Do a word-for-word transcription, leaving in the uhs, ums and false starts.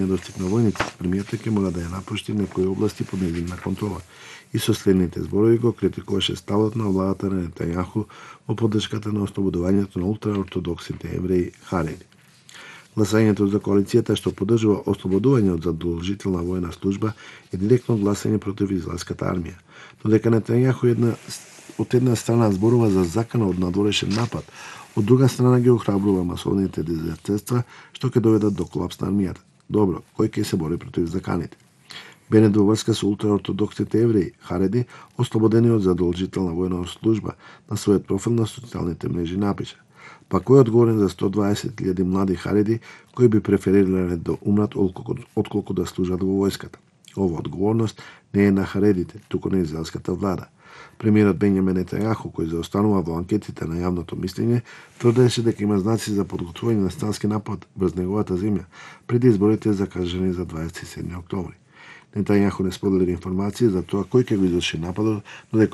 недостиг на војници, премиерот ќе мора да ја напушти некои области под нејзина контрола. И со следните зборови го критикуваше ставот на владата на Нетањаху во поддршката на ослободувањето на ултраортодоксните евреи хареди. Гласањето за коалицијата што поддржува ослободување од задолжителна војна служба е директно гласање против израелската армија. Додека Нетањаху една, од една страна зборува за закана од надворешен напад, од друга страна ги охрабрува масовните дезертерства што ќе доведат до колапс на армијата. Добро, кој ќе се бори против заканите? Бенет во врска со ултраортодоксните евреи, хареди, ослободени од задолжителна војна служба, на својот профил на социјалните мрежи напиша: па кој е одговорен за сто дваесет илјади млади хареди кои би преферирале да умрат отколку да служат во војската? Ова одговорност не е на харедите, туку на израелската влада. Премиерот Бенјамин Нетањаху, кој заостанува во анкетите на јавното мислење, тврдеше дека има знаци за подготвување на странски напад врз неговата земја преди изборите закажани за дваесет и седми октомври. Нетањаху не сподели информации за тоа кој ќе го изврши нападот, додека